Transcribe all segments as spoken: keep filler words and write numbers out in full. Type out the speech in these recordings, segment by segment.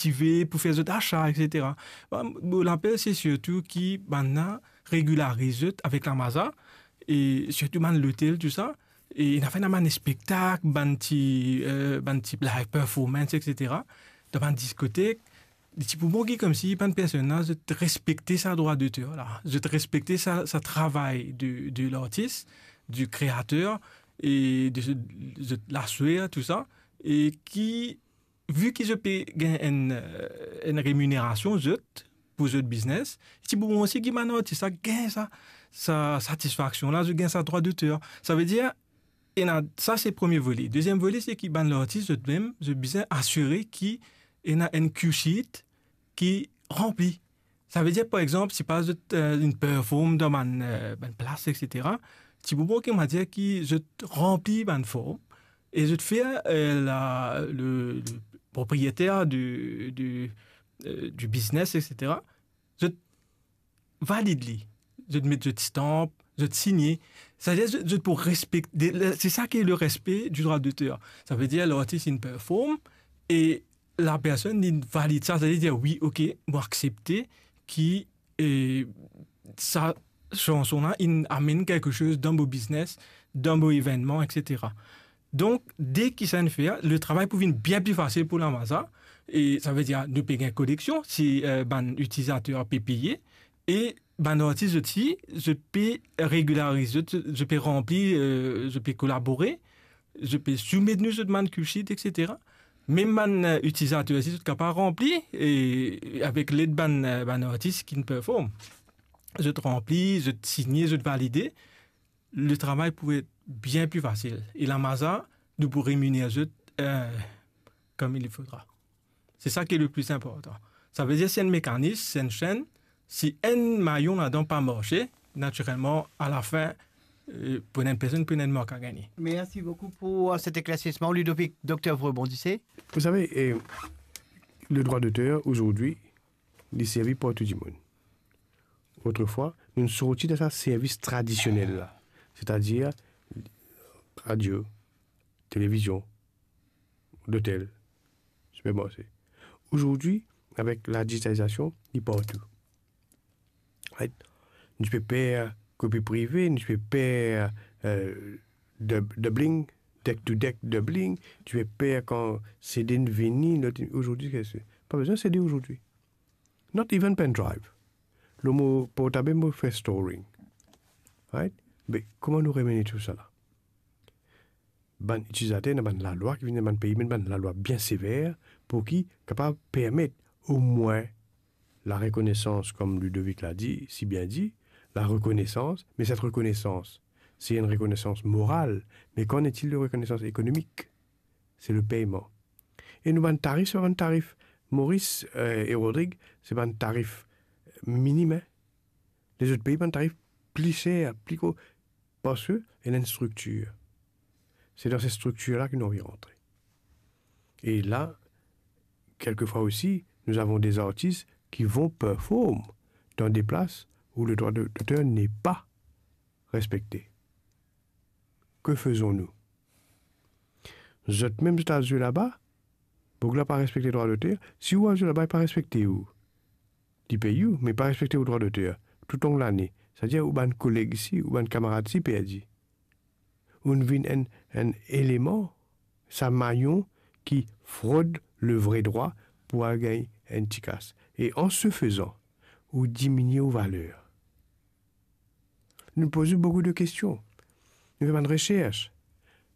motive pou fer zot asa, et cetera. Bon, mo lapel se sirtou ki bann la regilariz zot avek Lamaza, e sirtou bann lotel, tou sa. E ena fer bann spektak, bann ti, eh, bann ti live performance, et cetera. Dan bann diskotek, li ti pou bon ki koumsi bann personn la, zot respekte sa drwa doter la. Zot respekte sa, sa travay de, de lartis, du kreater, e de, de laswer, tou sa. E ki, vi ki zot pe gagn enn, eh, enn reminerasion, zot, pou zot biznes, ti pou bon osi ki bann artis la gagn sa, sa satisfaksion la, zot gagn sa drwa doter. Savedir, ena, sa se premie vole. Deziem vole, se ki bann lartis zot mem, zot bizin asire ki ena enn cue sheet ki ranpli. Savedir, par exanp, si pa zot, eh, inn perform dan bann, eh, bann plas, et cetera, ti pou bon ki, on va dire, ki zot ranpli bann form e zot fer, eh, la, le, le propriyeter de, de, eh, du biznes, et cetera, zot valid li. Zot met zot stamp, zot signe. Savedir zot, zot pou respekte, de, le, se sa ki le respe du drwa doter. Savedir lartis inn perform e lapersonn, li valid sa, savedir, wi, ok, mo aksepte ki, eh, sa sanson la inn amenn kelke soz dan mo biznes, dan mo evennman, et cetera. Donk, de ki sa inn fer, le travay pou vinn bien pli fasil pou Lamaza, e savedir, nou pe gagn koleksion, si, eh, bann itilizater pe peye, e bann artis osi, zot pe regilariz, zot, zot pe ranpli, eh, zot pe kolabore, zot pe soumet nou zot bann cue sheet, et cetera. Mem bann, eh, itilizater osi, zot kapav ranpli, e avek led bann, eh, bann artis ki inn perform. Zot ranpli, zot signe, zot valide, le travay pou et bien pli fasil. E Lamaza, nou pou reminer zot, eh, comme il faudra. Se sa ki le pli inportan. Savedir, se enn mekanis, se enn senn. Si enn mayon ladan pa marse, natirelman, alafin, eh, pou enn personn, pou enn mank a gagne. Merci beaucoup pour, euh, cet éclaircissement, Ludovic. Docteur, vous rebondissez ? Vous savez, eh, le droit d'auteur, aujourd'hui, li servi partou dimoun. Autrefois, nou sorti dan sa servis tradisionel la, setadir radio, televizion, lotel, sipermarse. Aujourd'hui, avek la digitalizasion, li partou. Right? Nou ti pe per kopi prive, nou ti pe per, eh, dub-, doubling, deck to deck doubling, nou ti pe per kan CD inn vini, lot inn, aujourd'hui, se, pa bizin CD aujourd'hui. Not even pen drive. Lor mo portab mo fer storing. Right? Me kouma nou remene tou sa la? Bann itilizater, ena bann lalwa ki vinn, bann pei, met bann lalwa bien sever pou ki kapav permet omwin la rekonesans, kom Ludovic la di, si bien di, la rekonesans, me set rekonesans, se enn rekonesans moral, me qu'en est-il de rekonesans ekonomik? Se le peyman. E nou bann tarif, se pa bann tarif, Maurice, eh, e Rodrigue, se bann tarif minim, hein. Lezot pei bann tarif pli ser, pli gro, parski ena enn striktir. Se dan set striktir la ki nou anvi rantre. E la, quelquefois aussi, nous avons des artistes qui vont perform dans des places où le droit de, d'auteur n'est pas respecté. Que faisons-nous? Zot mem zot al zwe laba, boug la pa respekte drwa doter. Si ou al zwe laba, li pa respekte ou. Li pey ou, me pa respekte ou drwa doter toutlong lane. Savedir ou bann koleg isi, ou bann kamarad isi perdi. Ou vinn enn, enn eleman, sa mayon ki frod le vre drwa pou al gagn enn ti kas. E an se fezan, ou diminie ou valer. Nou poz boukou de kestion. Nou fer bann resers.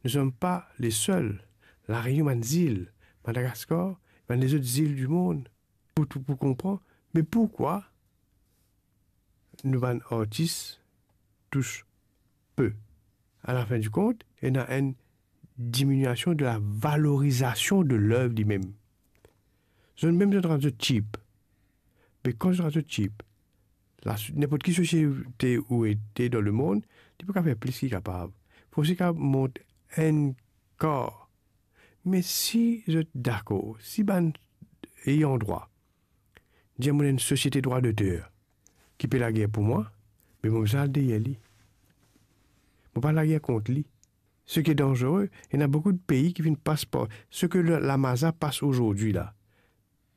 Nous sommes pas les seuls. La Réunion, bann zil, Madagaskar, bann lezot zil dimond, pou, pou, pou konpran, me poukwa nou bann artis tous pe? A la fin di kont, ena enn diminiasion de la valorizasion de lev limem. Zot mem zot rann zot cheap. Me kan zot rann zot cheap, la, ninport ki sosiete ou ete dan lemond, li pou kapav fer plis ki kapav. Fosek a mont enn kar. Me si zot dakor, si bann ayandrwa dir mo ena enn sosiete drwa doter ki pe lager pou mwa, me mo bizin al deryer li. Mo pa lager kont li. Seki danzere, ena boukou de pei ki finn pas par seki le, Lamaza pas azordi la.